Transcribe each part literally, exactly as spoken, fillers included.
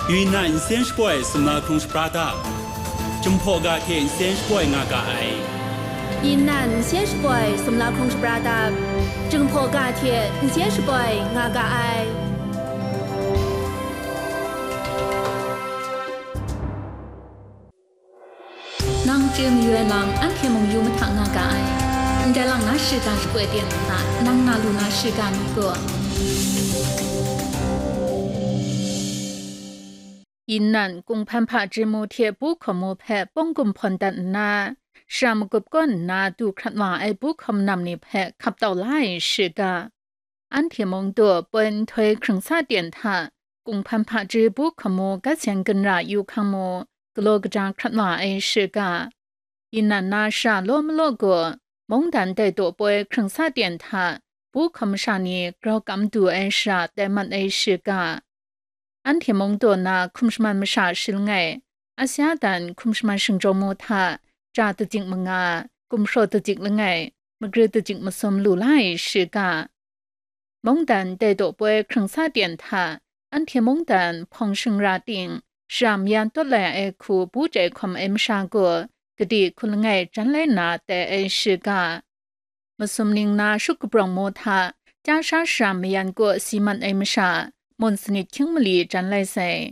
Yunnan nsen shapoi sumla hkrung shapra dap, Jinghpaw ga hte nsen shapoi nga ga ai. Yunnan nsen shapoi sumla hkrung shapra dap, Jinghpaw ga hte nsen shapoi nga ga ai. Nang chye mayu ai lam, anhte mung yu mahta nga ga ai. Ndai lang na shiga shapoi ten nna, nang na lu na shiga ni gaw, Yunnan Kunghpan Hpaji mu hte Pu Hkamu hpe pawng gumhpawn dat nna, shara magup kaw nna du hkrat wa ai Pu Hkamu nam ni hpe hkap tau la ai shiga, anhte mung du poi nhtoi hkrung sa ten hta Kunghpan Hpaji Pu Hkamu gat seng ginra yu hkang mu galaw kaja hkrat wa ai shiga, Yunnan na shara law malaw gaw, mungdan dai daw poi hkrung sa ten hta Pu Hkamu sha ni grau kam du ai shara tai mat ai shiga, anhte mung daw na hkum shaman masha shi langai, Asia dan hkum shaman shingjawng mu hta, ja dajik manga, gumhpraw dajik langai, magri dajik masum lu la ai shiga, mungdan dai daw poi hkrung sa ten hta, anhte mungdan hpawng shingra ting, shara mayan tawt lai ai hku bu chyai hkawm ai masha gaw, gade hku langai jan lai nna tai ai shiga, masum ning na shut kabrawng mu hta, Chyasha shara mayan kaw si mat ai masha, mun sanit hkying mali jan lai sai.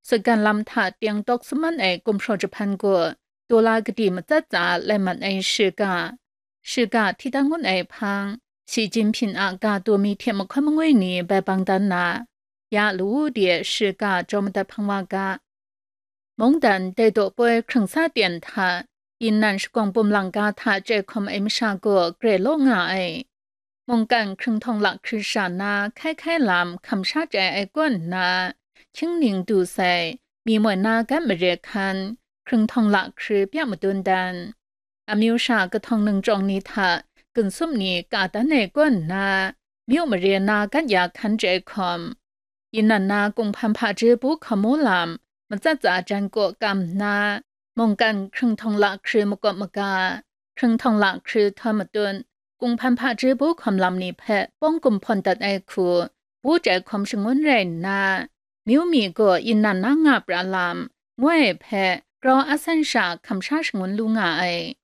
Sutgan lam hta teng tawk sum man ai gumhpraw jahpan gaw, daw la gade matsat tsa lai mat ai shiga, shiga hti dan ngun ai hpang, Shi Jinhping a ga daw mi hte mahkawn mangwi ni bai bang dan na, ya lawu de shiga jaw madat hpang wa ga. Mungdan dai daw poi hkrung sa ten hta, Yunnan shagawng pum lang ga hta chyai hkawm ai masha gaw grai law nga ai. Mungkan hkrung htawng lahkri sha na hkai hkai lam hkam sha chyai ai kaw nna, hkying ning du sai, mi moi na gat mare hkan, hkrung htawng lahkri pya madun dan, amyu sha kahtawng ningchyawng ni hta ginsup ni ka dan ai kaw nna, myu mare na gat ya hkan chyai hkawm, Yunnan na Kunghpan Hpaji Pu Hkamu lam matsat tsa jan kaw kam nna, mungkan hkrung htawng lahkri makawp maga, hkrung htawng lahkri htawm matut, Kunghpan Hpaji Pu Hkamu lam ni hpe pawng gumhpawn dat ai hku bu chyai hkawm shangun rai nna, myu mi gaw Yunnan na nga pra lam, ngu ai hpe grau asan sha hkam sha shangun lu nga ai.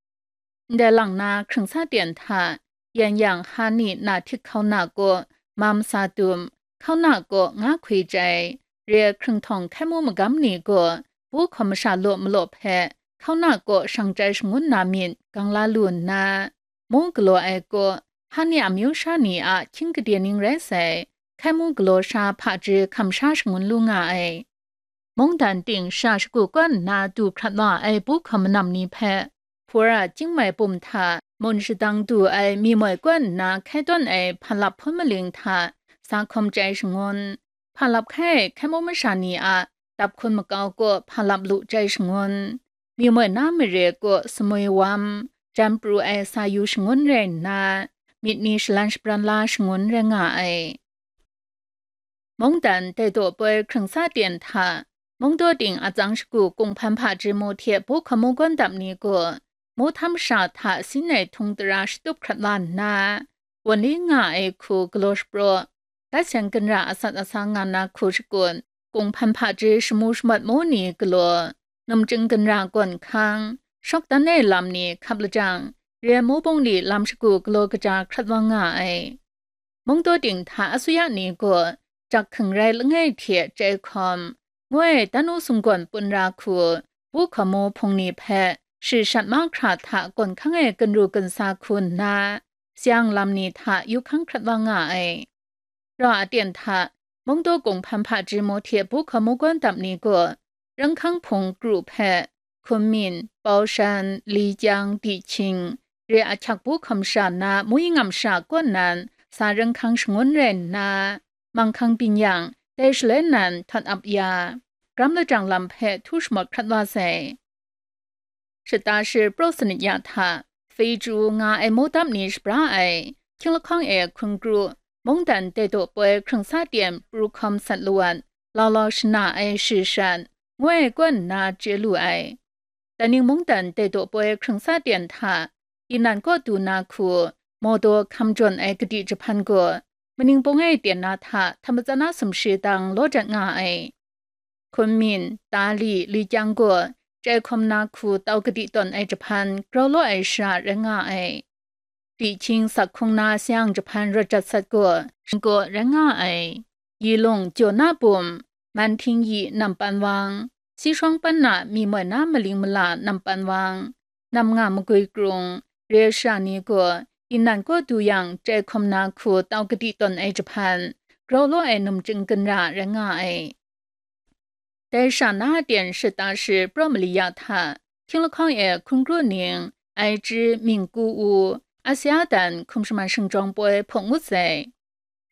Ndai lang na hkrung sa ten hta, yan yang Hani na htik hkauna kaw mam sa dum, hkauna kaw nga hkwi chyai, re hkrung htawng hkai mu magam ni gaw, Pu Hkamu sha law malaw hpe, hkauna kaw shang chyai shangun na myit gang la lu nna, mu galaw ai kaw, Hani amyu sha ni a hkying gade ning rai sai, hkai mu galaw sha hpaji hkam sha shangun lu nga ai. Mungdan ting sha shagu kaw nna du hkrat wa ai Pu Hkamu nam ni hpe, Hpura chyingmai pum hta mun shadang du ai mi moi kaw nna hkai tawn ai hpalap hpun maling hta sa hkawm chyai shangun, hpalap hkai ai hkai mu masha ni a dap hkun makau kaw hpalap lu chyai shangun, mi moi na mare kaw samwi wam, jan pru ai sa yu shangun rai nna, myit ni shalan shabran la shangun rai nga ai. Mungdan dai daw poi hkrung sa ten hta, mungdaw ting atsang shagu Kunghpan Hpaji mu hte Pu Hkamu gawn dap ni gaw, mu htam sha hta sin ai htung tara shatup hkrat la nna, wan li nga ai hku galaw shapraw, gat seng ginra asat asang nga na hku shakut, Kunghpan Hpaji shamu shamat mu ni galaw, numchying ginra gawn hkang, shawk dan ai lam ni hkap lajang, re ai mu bungli lam shagu galaw kaja hkrat wa nga ai. Mungdaw ting hta asuya ni gaw, jak hkring rai langai hte chyai hkawm, ngu ai dan u sumgawn pun ra hku, Pu Hkamu hpung ni hpe shi shat mahkra hta gawn hkang e ginru ginsa hku nna, sayang lam ni hta yu hkang hkrat wa nga ai. Rau aten hta, Mungdaw Kunghpan Hpaji mu hte Pu Hkamu gawn dap ni gaw, Ranghkang Hpung kru hpe, Kunming, Baushan, Likyang, Dihkying, re ahkyak Pu Hkamu sha na Muyi Ngam sha kaw nan sa Ranghkang shangun rai nna, Manghkang Byin Yang, dai shaloi nan Htawt Ap Ya, Gram Lajang lam hpe htu shamawt hkrat wa sai. Shata shi praw sanit ya hta, Feju nga ai mu dap ni shabra ai, hkying lahkawng e hkun kru, mungdan dai daw poi hkrung sa ten pru hkawm sat lawat, lau lau shana ai shi shat, ngu ai kaw nna chye lu ai. Daning mungdan dai daw poi hkrung sa ten hta, Yunnan kaw du na hku, Mawdaw hkam jawn ai kadi jahpan gaw, maning pung e ten na hta htam matsan na sumshi dang law dat nga ai. Kunmin, Dali, Likyang gaw chyai hkawm na hku tau kadi tawn ai jahpan grau law ai shara rai nga ai. Dihkying sak hkung na sayang jahpan rawt jat sat gaw, gaw rai nga ai. Yilung jaw na bum, Manhting yi nampan wang, Sishawng pan na mi moi na maling mala nampan wang, nam nga magwi krung, re shara ni gaw, inan kaw du yang chyai hkawm na hku tau kadi tawn ai jahpan, grau law ai numchying ginra rai nga ai. Dai sha na aten shata shi praw mali ya hta, hkying lahkawng e hkun kru ning, ai chyi mingku u, Asia dan hkum shaman shingjawng poi hpawng ngut sai.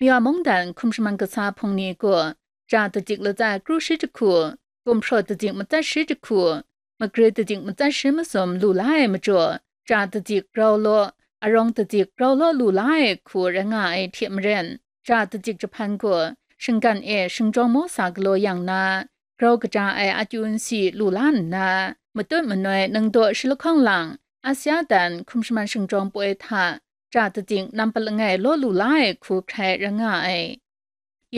Miwa mungdan hkum shaman kasa hpung ni gaw, ja dajik latsai kru shi jahku, gumhpraw dajik matsat shi jahku, magri dajik matsat shi masum lu la ai majaw, ja dajik grau law, arawng dajik grau law lu la ai hku rai nga ai hte maren, ja dajik jahpan gaw, shinggan e shingjawng maw sa galaw yang na, grau kaja ai akyu nsi lu la nna, matut manoi ningdaw shi lahkawng lang, Asia dan hkum shaman shingjawng poi hta, ja dajik nampat langai law lu la ai hku hkrai rai nga ai.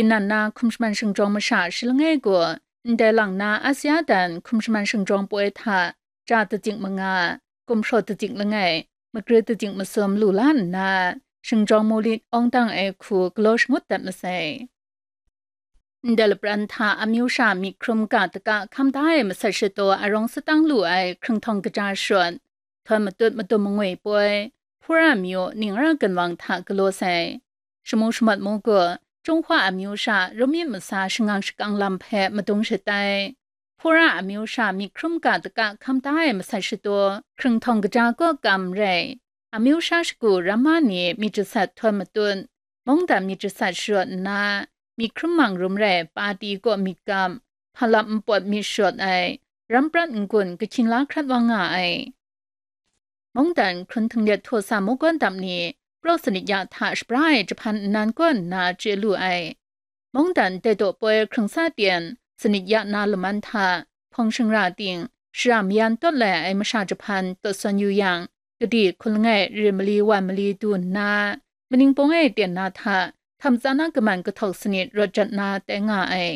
Inan na hkum shaman shingjawng masha shi langai gaw, ndai lang na Asia dan hkum shaman shingjawng poi hta, ja dajik manga, gumhpraw dajik langai, magri dajik masum lu la nna, shingjawng mu lit awng dang ai hku galaw shangut dat masai. Ndai lapran hta amyu sha myit hkrum ga daga hkam da ai masat shadaw arawng satang lu ai hkrung htawng kaja shut, htawn matut madum mangwi poi, Hpura myu ning ra ginwang hta galaw sai. Shamu shamat mu gaw, Jinghwa amyu sha rum myit masa shangang shakang lam hpe madung shatai. Hpura amyu sha myit hkrum ga daga hkam da ai masat shadaw, hkrung htawng kaja kaw kam rai. Amyu sha shagu ramma ni myit jasat htawn matut, mungdan myit jasat sharawt nna, myit hkrum mang rum rai pati kaw myit gam, hpalam npawt myit sharawt ai, ram prat n-gun kahkying la hkrat wa nga ai. Mungdan hkrun htinglet htaw sa mawgawn dam ni, praw sanit ya hta shabra ai jahpan nnan kaw nna chye lu ai. Mungdan dai daw poi hkrung sa ten, sanit ya na laman hta, hpawng shingra ting, shara mayan tawt lai ai masha jahpan tawt sawn yu yang, gade hkun langai re mali wan mali du nna, maningpung e ten na hta, htam tsa na kaman kahtawk sanit rawt jat na tai nga ai.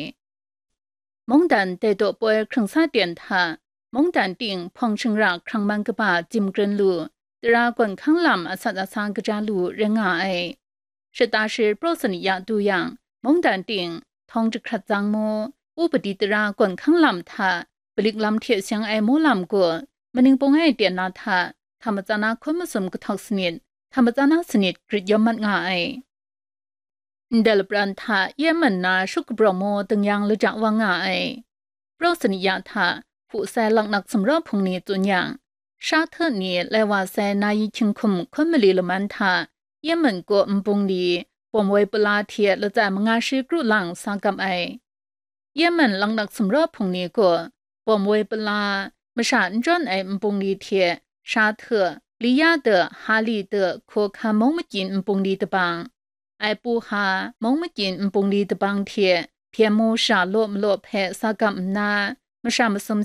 Mungdan dai daw poi hkrung sa ten hta, mungdan ting hpawng shingra hkrang man kaba jim kren lu, tara gawn hkang lam asat asa kaja lu rai nga ai. Shata shi praw sanit ya du yang, mungdan ting, htawng jahkrat tsang mu, upadi tara gawn hkang lam hta, palik lam hte seng ai mu lam gaw, maningpung e ten na hta, htam matsa na hkun masum kahtawk sanit, htam matsa na sanit grit yawm mat nga ai. Ndai lapran hta Yemen na shup kabrawng mu ding yang laja wa nga ai. Praw sanit ya hta, hpu sai laknak sumraw hpung ni tsun yang, sha hte ni lai wa sai na yi hkying hkum hkun mali laman hta, Yemen kaw npung li, bawm woi pala hte latsai manga shi kru lang sa gap ai. Yemen laknak sumraw hpung ni gaw, bawm woi pala, masha n jawn ai npung li hte, sha hte, li ya de, ha li de, hkaw hkan mung makyin npung li dabang, ai pu ha, mung makyin npung li dabang hte, hpyen mu sha law malaw hpe sa gam nna, masha masum